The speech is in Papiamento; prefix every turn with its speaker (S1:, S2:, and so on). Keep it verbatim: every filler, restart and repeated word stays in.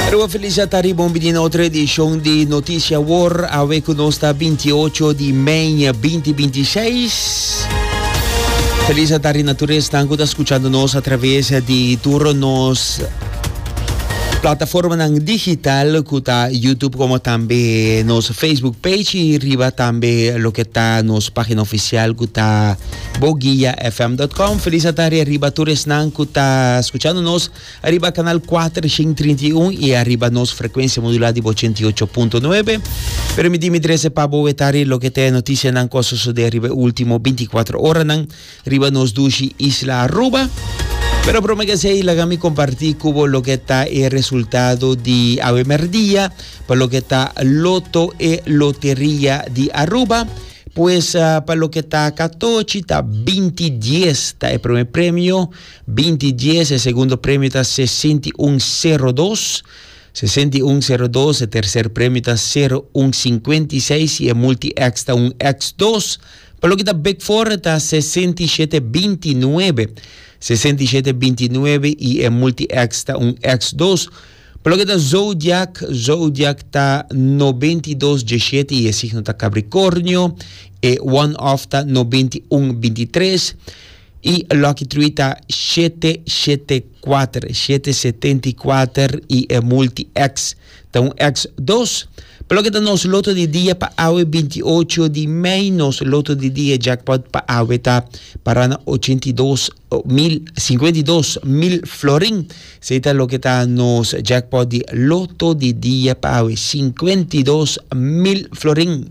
S1: Pero felis tardi, bon bini na otro edicion di Noticia Awor. Awe cu nos ta binti ocho di mei dos mil bintiseis. Felis tardi na tur esnan cu ta scuchando nos a traves di tur nos plataforma digital, cu ta YouTube como tambe nos Facebook page y riba tambe loke ta nos pagina oficial, cu ta boguiafm punto com. Felis tardi riba tur esnan cu ta scuchando nos riba canal cuatershen trinta i un y riba nos frecuencia modula di ochenta i ocho punto nuebe. Permiti mi trece pa bo awe loke ta noticianan cu a sucede riba ultimo binticuater oranan riba nos dushi isla Aruba. Pero prome cu esey, laga mi comparti cu bo loke ta e resultado di awe merdia, pa loke ta Lotto y Loteria di Aruba. Pues uh, pa loke ta catochi ta binti dies ta e prome premio, binti dies, e segundo premio ta sesenta i un sero dos, sesenta i un sero dos, e tercer premio ta sero un cincuenta i seis y e multi X ta un X dos. Pa loke ta Big Four ta sesenta i shete bintinuebe, sesenta i shete bintinuebe y e multi X ta un X dos. Pa loke ta Zodiac, Zodiac ta nobenta i dos diesshete y e signo ta Capricornio, e one off ta nobenta i un bintitres y Lucky Three ta shete shete cuater, shete setenta i cuater y e multi X ta un X dos. Pa loke ta nos Lotto di Dia pa awe binti ocho di mei, nos Lotto di Dia jackpot pa awe ta para na ochenta i dos mil, cincuenta i dos mil florin. Esey ta loke ta nos jackpot di Lotto di Dia pa awe, cincuenta i dos mil florin.